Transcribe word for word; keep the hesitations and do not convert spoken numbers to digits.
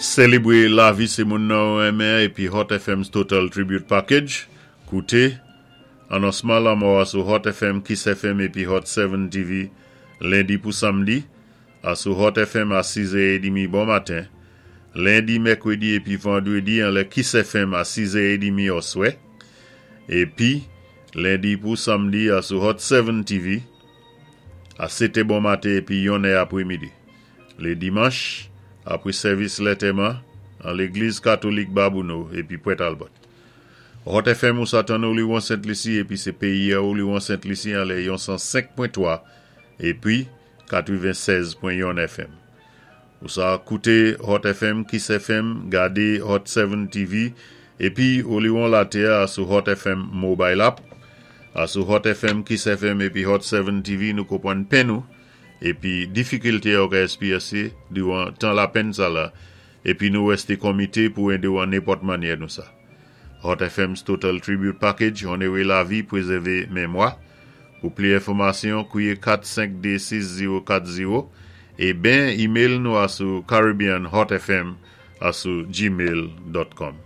Sélébwé lavi sé moun nan ou renmen épi Hot F M's Total Tribute Package. Kouté anonsman lanmò a sou Hot F M, Kiss F M épi Hot sept T V lendi pou samdi a sou Hot F M a sis è trant bon maten. Lendi, mèkwédi épi vandwédi anlè Kiss F M a sis è trant oswè. Épi lendi pou samdi a sou Hot sept T V a sèt bon maten épi yon è apwé midi. Lé dimanch, apwé sèvis lantèman, an légliz katolik Babonneau épi Port Albert. Hot F M ou sa tann Oliwon Sent Lisi épi sé péyi a Oliwon Sent Lisi anlè yon san senk pwen twa épi katwennsèz pwen yon F M. Ou sa kouté Hot F M, Kiss F M, gadé Hot sept T V épi Oliwon Latè a sou Hot F M Mobile App. A sou Hot F M, Kiss F M épi Hot sept T V nou konpwann penn nou épi difikilté ou ka éksperyensé diwan tan lapenn sa la épi nou wèsté komité pou édé ou an nenpòt mannyè nou sa. Hot F M's Total Tribute Package, onoré lavi, pwézèvé mémwa. Pou pli enfòmasyon, kwié kat senk de sis zewo kat zewo é ben email nou a sou caribbeanhotfm a sou gmail dot com.